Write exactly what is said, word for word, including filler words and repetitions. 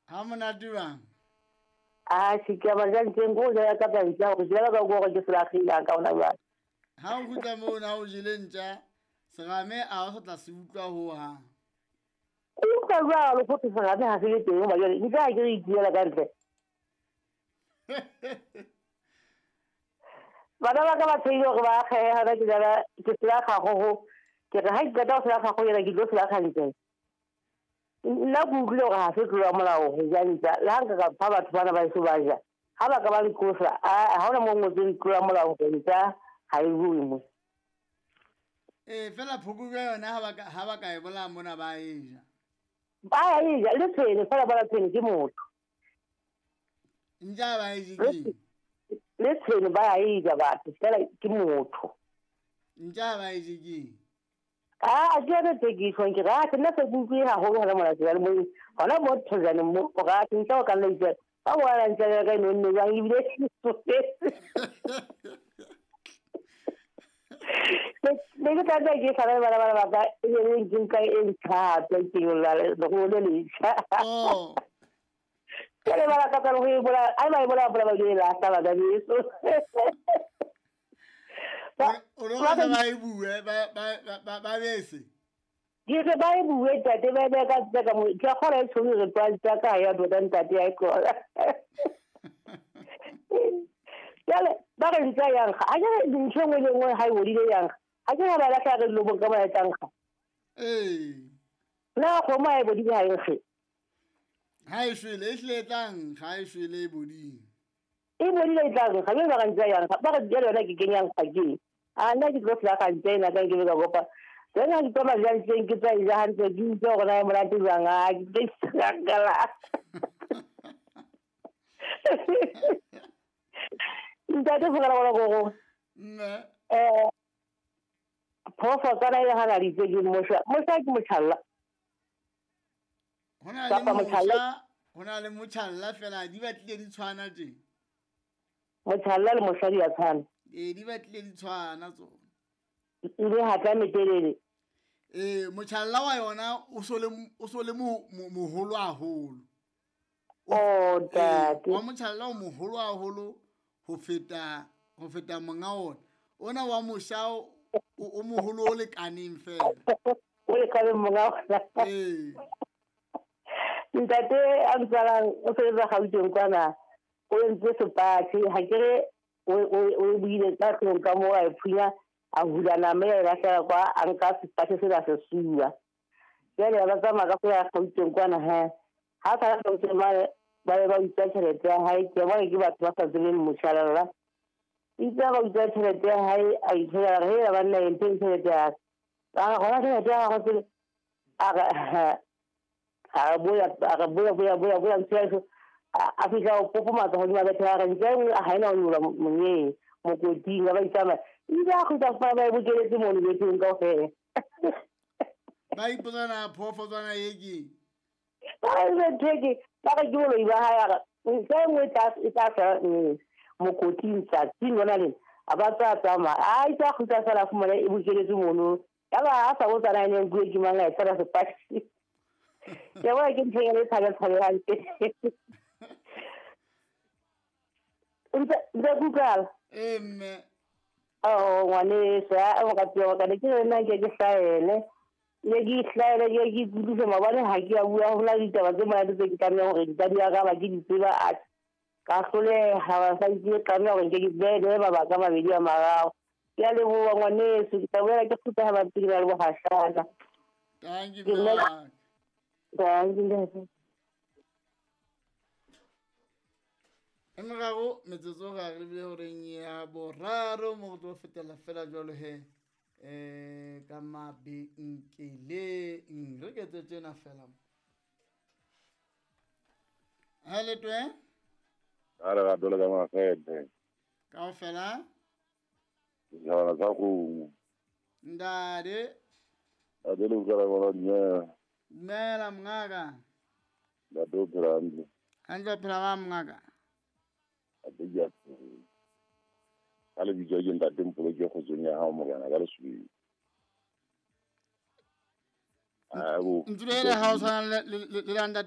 Ha monate jwang? A se ke ba jang teng go ja ka tsa ntja go jela ka go ke selagile ka ona jwang. Ha o kgutla moo na o jele ntja serame a o tla se utlwa ho hang. O utlwa jwalo go tse serame ha se le teng ba jwale ntja ke re itiela ka ntle. Bana ba ka ba tsheile hore ba akgehe hona ke jala ke selakga go go ke re ha ke qeta ho selakga go yena ke tlo selakga ntle. Nna ke utlwile hore ha se tlolo ya molao ho ja ntja le ha nka ka fa batho bana ba eso ba ja ha ba ka ba nqosa ha hona mo ngotsweng tlolo ya molao hore ntja ha e bue mo. Eh fela phokojwe yona ha ba ka ha ba ka e bolaya mona ba e ja. Ba e ja le tshwene fela ba tshwene ke motho. Ntja ba e je ke. Le tshwene ba e ja batho fela ke motho. Ntja ba e je ke. Ah, ke yona tse ke tjhong ke ra ke nna se ke utlwe haholo hona mona tsela mo hona mo thojane mo o ra ke ntja o ka nna itse ba bona ntja ya ka e nonne jwang ebile ne ke tla ke sala le bana ba ka e le ke nka e ntjha ke yola le go le letjha. Oh. Ke le bana ka tsa go e bola ai ba e bola bola ba ke la sa ba beso. O lo ba ba e bue ba ba ba ba bese. Ke re ba e bue ntate ba be ka tsa ka mo ke kgona e tshwere re twa tsa ka ya tota ntate ya kola. Jale ba re ntsa yang ga a ke ntho nngwe le nngwe ha e bodile yang ga ke ba la tla re lo bonka ba tlang ga. Eh. Na go ma e bodile ha e ge. Ha e shwele e hle tlang ga e shwele e bodile. E bodile e tlang ga ba re ntsa yang ga ba re jale yona ke kenyang ga ke. A nna ke tlo tla ga ntse ena ka ke be ka kopa. Tsena ke tlo ja ntse ke tsa ja hantle ke itse gore na e monate jwang a ke sakala. Ntate fela bona go go. Nne. Eh phofo tsana e hana ditse ke mosha mosha ke motjhalla. Hona le motjhalla hona le motjhalla fela di batlile di tshwana tje. Motjhalla le mosha di a tshwana. Eh di batlile di tshwana tsona. Ile ha tla metelele. Eh motjhalla wa yona o so le o so le moholo haholo. Oh ntate. Wa motjhalla o moholo haholo ho feta ho feta monga ona. Ona wa mosha o moholo o lekaneng fela. O lekaneng monga ona. Eh. Ntate a ntsala o sebetsa Gauteng kwana. O entse sepatjhe ha ke re o o buile ka tlong ka mo a e phunya a hula nama ya lahlela kwa a nka sepatjhe sena se suwa. Jwale ba tsamaya ka go ya Gauteng kwana he. Ha sa Gauteng ba ba ba utswa tjhelete ya hae ke bona ke batho ba sa tsebeng motjhalalla. Itse ba utswa tjhelete ya hae a ithola re ba nna e mpeng tjhelete ya ka. A gona tjhelete ya gagwe pele a re a boya a re boya boya boya boya ntse a fihla o popomatsa hodima bethe ya gagwe ntse nngwe ha ena ho nyola monyeng mokoting ba itsamaya ile a kgutla fa ba e bokeletse mono betheng kaofela. Ba ipotsana phoofotswana e ke. Ba re theke ba re ke boloi ba hae a re ntse nngwe e tla e tla sa mokoting tsatsing lona lena a ba tsa tsamaya a itse a kgutla fela a fumana e bokeletse mono ya ba a sa botsana e ne nkuwe ke mang a e tshwara sepatjhe. Ke bona ke ntho e tshabe tshabe hantle. Ntse ntse kutlwala. Eh mme. Oh ngwaneso a o ka tsewa ka ne ke nna ke ke hlaele. Ne ke hlaele ke ke ikutlwise maobane ha ke a bua ho na le ditaba tse monate tse ke tlamehang hore di ka di araba ke di tseba a ka hloleha ba sa ke tlameha hore nke ke behe mabaka a mabedi a mararo. Ke a leboha ngwaneso ke tla boela ke kgutla ha ba pele ba le bohashana. Thank you mme. Thank you ntate. E meraro metsotso ga re lebile horeng ya boraro mo go tlo fetela fela jwalo he eh ka mabenkeleng re ke tse tsena fela. Ha le twe? A re ga dole ka mafete. Kaofela? Ke tsa go. Ndade. A dole go ra bona dumela. Dumela mongaka. Ntate o phela hantle. Hantle o phela ba mongaka. Ate ka lebitso ke ntate Mpolo ke kgotsong ya hao morena ka lesweu. Ntlo ena ha o tshwana le le le